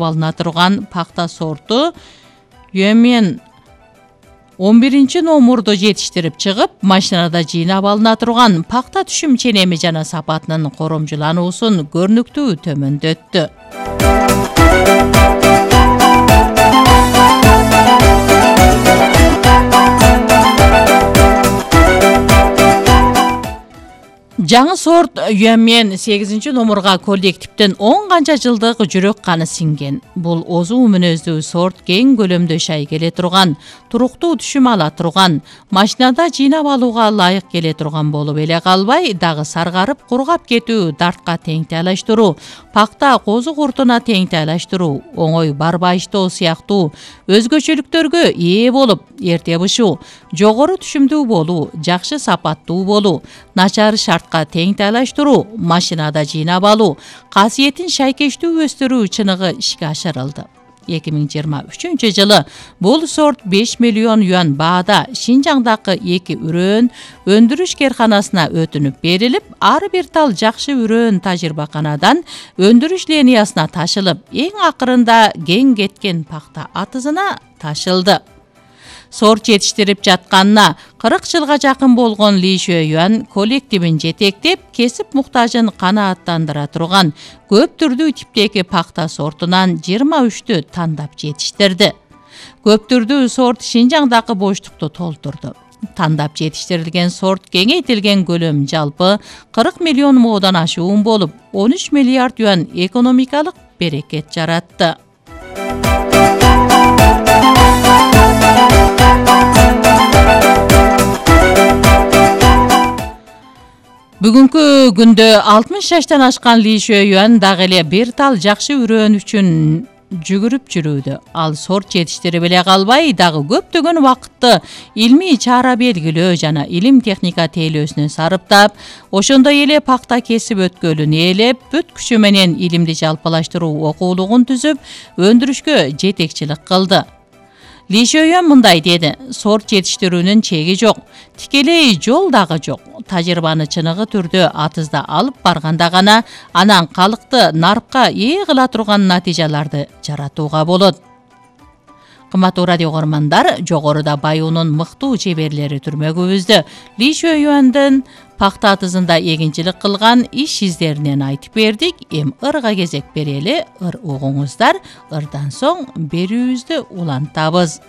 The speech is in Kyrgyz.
алына турган пахта сорту Юэмен 11-номурду жетиштирип чыгып, машинада жыйнап алына турган пахта түшүм ченеми жана сапатынын коромжулануусун көрүнүктүү төмөндөттү. Жаңы сорт Юэмен 8-номурга коллективден 10 канча жылдык жүрөк каны синген. Бул озуу мүнөздүү сорт кең көлөмдө шай келе турган, туруктуу түшүм ала турган, машинада жыйнап алууга ылайык келе турган болуп эле калбай, дагы саргарып кургап кетүү, дартка тең тайлаштыруу, пахта козу куртуна тең тайлаштыруу, оңой барбайыштоо сыяктуу өзгөчөлүктөргө ээ болуп, эрте бышуу, жогору түшүмдүү болуу, жакшы сапаттуу болуу, начар шартка тең тайлаштыруу, машинада жыйнап алуу, касиетин шайкештүү өстүрүү чыныгы ишке ашырылды. 2023-жылы бул сорт 5 миллион юан баада Шинжаңдагы 2 үрөөн өндүрүш керканасына өтүнүп берилип, ар бир тал жакшы үрөөн тажрыйбаканадан өндүрүш линиясына ташылып, эң акырында кең кеткен пахта атызына ташылды. Сорт жетиштирип жатканына 40 жылга жакын болгон Ли Шуэюан коллективин жетектеп, кесип муктажын канааттандыра турган көп түрдүү типтеги пахта сортунан 23тү тандап жетиштирди. Көп түрдүү сорт Шинжаңдагы боштукту толтурду. Тандап жетиштирилген сорт кеңейтилген көлөм жалпы 40 миллион моодан ашуун болуп, 13 миллиард юан экономикалык берекет жаратты. Бүгүнкү күндө 60 жаштан ашкан Ли Шуэюан дагы эле бир тал жакшы үрөөн үчүн жүгүрүп жүрүүдө. Ал сорт жетиштирип эле калбай, дагы көптөгөн убакытты илмий чара белгилөө жана илим техника тейлөөсүнө сарыптап, ошондой эле пахта кесип өткөлүн ээлеп, бүт күчү менен илимди жалпылаштыруу окуулугун түзүп, өндүрүшкө жетекчилик кылды. Ли Шуэюан мындай деди: сорт жетиштирүүнүн чеги жок, тикелей жол дагы жок. Тажрыйбаны чыныгы түрдө атызда алып барганда гана анан калыкты нарыкка ээ кыла турган натыйжаларды жаратууга болот. Кымбаттуу радио көрөрмандар, жогоруда Баюунун мыктуу чеберлери түрмөгүбүздө Ли Шуэюандын пахта атызында эгинчилик кылган иш издеринен айтып бердик. Эми ырга кезек берели, ыр угуңуздар. Ырдан соң берүүбүздү улантабыз.